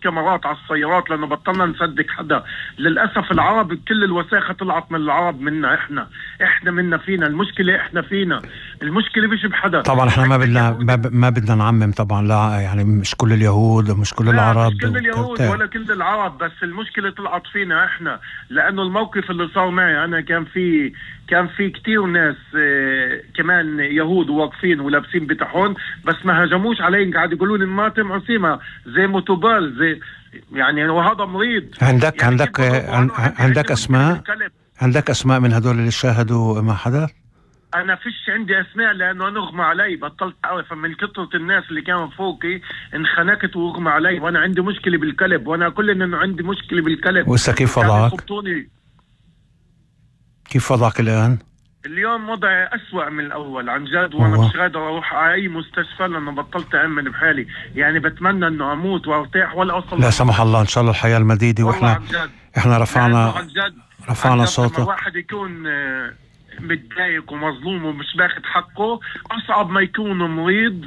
كاميرات على السيارات لأنه بطلنا نصدق حدا. للأسف العرب كل الوساخة طلعت من العرب، منا إحنا منا فينا المشكلة، إحنا فينا المشكلة مش بحدا. طبعا احنا ما بدنا نعمم طبعا، لا يعني مش كل اليهود ومش كل العرب، مش كل اليهود ولا كل العرب، بس المشكلة طلعت فينا إحنا. لأنه الموقف اللي صار معي أنا كان في كتير ناس كمان يهود واقفين ولابسين بتحون، بس ما هجموش علي، قاعد يقولون الماتم عصيمة زي موتوبال زي يعني، وهذا مريض. عندك اسماء من هدول اللي شاهدوا ما حدث؟ انا فيش عندي اسماء لانه انا اغمى علي، بطلت اعرف من كثرة الناس اللي كانوا فوقي، انخنقت واغمى علي، وانا عندي مشكلة بالكلب، وانا كل انه عندي مشكلة بالكلب. وإسا كيف وضعك؟ كيف وضعك الآن؟ اليوم وضعي أسوأ من الأول عن جد، وأنا مش قادر أروح على أي مستشفى لأنه بطلت أأمن بحالي. يعني بتمنى إنه أموت وأرتاح ولا أوصل. لا سمح الله، إن شاء الله الحياة المديدة. وإحنا رفعنا صوتك. لما الواحد يكون متضايق ومظلوم ومش باخد حقه، أصعب ما يكون مريض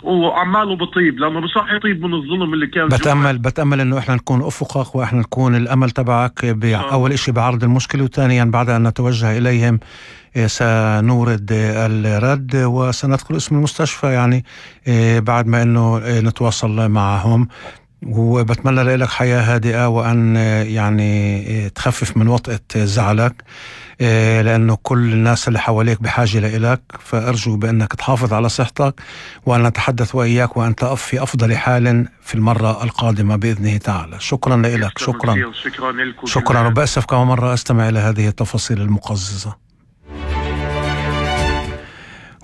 وعماله بطيب، لأنه بصح يطيب من الظلم اللي كان. بتأمل إنه إحنا نكون أفقك، وإحنا نكون الأمل تبعك أول إشي بعرض المشكلة، وثانيا بعد أن نتوجه إليهم سنورد الرد وسندخل اسم المستشفى يعني بعد ما إنه نتواصل معهم. وبتمنى لك حياة هادئة، وأن يعني تخفف من وطأة زعلك، لأنه كل الناس اللي حواليك بحاجة لإلك. فأرجو بأنك تحافظ على صحتك، وأن نتحدث وإياك وأنت في أفضل حال في المرة القادمة بإذنه تعالى. شكرا لك. شكرا. وبأسف كمان مرة أستمع إلى هذه التفاصيل المقززة.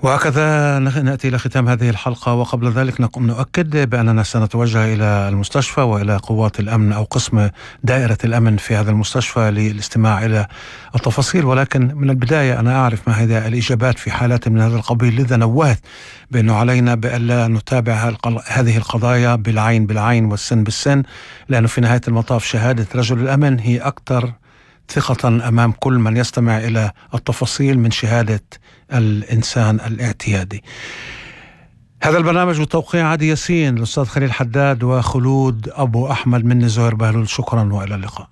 وهكذا نأتي إلى ختام هذه الحلقة، وقبل ذلك نؤكد بأننا سنتوجه إلى المستشفى وإلى قوات الأمن أو قسم دائرة الأمن في هذا المستشفى للاستماع إلى التفاصيل. ولكن من البداية أنا أعرف ما هي الإجابات في حالات من هذا القبيل، لذا نوهت بأنه علينا بألا نتابع هذه القضايا بالعين والسن بالسن، لأنه في نهاية المطاف شهادة رجل الأمن هي أكثر ثقة أمام كل من يستمع إلى التفاصيل من شهادة الإنسان الاعتيادي. هذا البرنامج وتوقيع عادي ياسين، الأستاذ خليل حداد وخلود أبو أحمد، مني زهير بهلول. شكرا وإلى اللقاء.